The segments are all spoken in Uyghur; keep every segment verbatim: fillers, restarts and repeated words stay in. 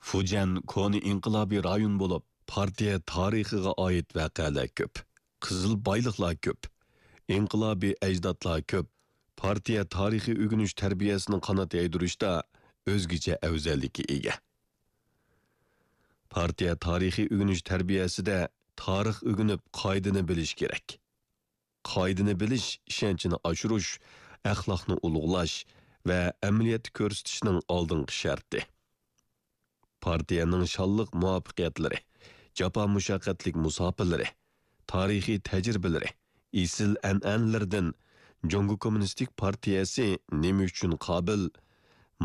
فۇجيەن كونا ئىنقىلابىي رايون بولۇپ، پارتىيە تارىخىغا ئائىت ۋەقەلەر كۆپ، قىزىل بايلىقلار كۆپ، ئىنقىلابىي ئەجدادلار كۆپ، پارتىيە تارىخىي ئۆگىنىش تەربىيەسىنىڭ قانات يايدۇرۇشتا ئۆزگىچە ئەۋزەللىككە ئىگە. پارتىيە تارىخىي ئۆگىنىش تەربىيەسىدە تارىخ ئۆگىنىپ، قائىدىنى بىلىش كېرەك. قائىدىنى بىلىش ئىشەنچنى ئاشۇرۇش، ئەخلاقنى ئۇلۇغلاش ۋە ئەمەلىيەتتە كۆرسىتىشنىڭ ئالدىنقى شەرتى. پارتىيەنىڭ شانلىق مۇۋەپپەقىيەتلىرى، جاپا مۇشەققەتلىك مۇساپىلىرى، تارىخىي تەجرىبىلىرى، ئېسىل ئەنئەنىلىرىدىن جۇڭگو كوممۇنىستىك پارتىيەسى نېمە ئۈچۈن قابىل،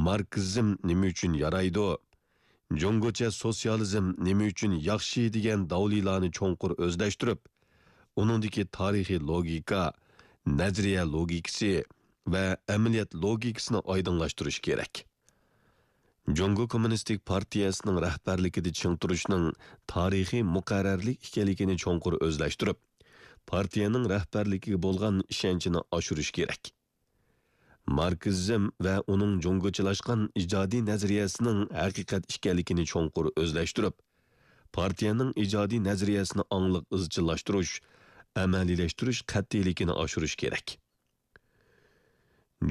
ماركسىزم نېمە ئۈچۈن يارايدۇ، جۇڭگوچە سوتسىيالىزم نېمە ئۈچۈن ياخشى دېگەن داۋلىلارنى چوڭقۇر ئۆزلەشتۈرۈپ، ئۇنىڭدىكى تارىخىي لوگىكا، نەزەرىيە لوگىكىسى ۋە ئەمەلىيەت لوگىكىسىنى ئايدىڭلاشتۇرۇش كېرەك. جۇڭگو كوممۇنىستىك پارتىيەسىنىڭ رەھبەرلىكىدە چىڭ تۇرۇشنىڭ تارىخىي مۇقەررەرلىك ئىكەنلىكىنى چوڭقۇر ئۆزلەشتۈرۈپ، پارتىيەنىڭ رەھبەرلىكىگە بولغان ئىشەنچىنى ئاشۇرۇش كېرەك. ماركسىزم ۋە ئۇنىڭ جۇڭگوچىلاشقان ئىجادىي نەزەرىيەسىنىڭ ھەقىقەت ئىكەنلىكىنى چوڭقۇر ئۆزلەشتۈرۈپ، پارتىيەنىڭ ئىجادىي نەزەرىيەسىنى ئاڭلىق ئىزچىللاشتۇرۇش، ئەمەلىيلەشتۈرۈش قەتئىيلىكىنى ئاشۇرۇش كېرەك.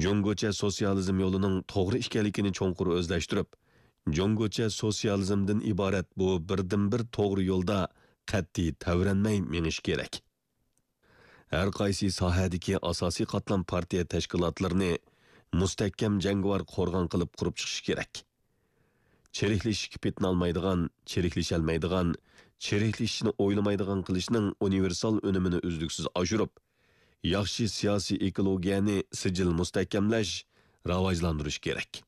جۇڭگوچە سوتسىيالىزم يولىنىڭ توغرا ئىكەنلىكىنى چوڭقۇر ئۆزلەشتۈرۈپ، جۇڭگوچە سوتسىيالىزمدىن ئىبارەت بۇ بىردىنبىر توغرا يولدا قەتئىي تەۋرەنمەي مېڭىش كېرەك. ھەر قايسى ساھەدىكى ئاساسىي قاتلام پارتىيە تەشكىلاتلىرىنى مۇستەھكەم جەڭگىۋار قورغان قىلىپ قۇرۇپ چىقىشى كېرەك. چىرىكلىشىشكە پېتىنالمايدىغان، چىرىكلىشەلمەيدىغان، چىرىكلىشىشنى ئويلىمايدىغان قىلىشنىڭ ئۇنىۋېرسال ئۈنۈمىنى ئۈزلۈكسىز ئاشۇرۇپ، ياخشى سىياسىي ئېكولوگىيەنى سىجىل مۇستەھكەملەش، راۋاجلاندۇرۇش كېرەك.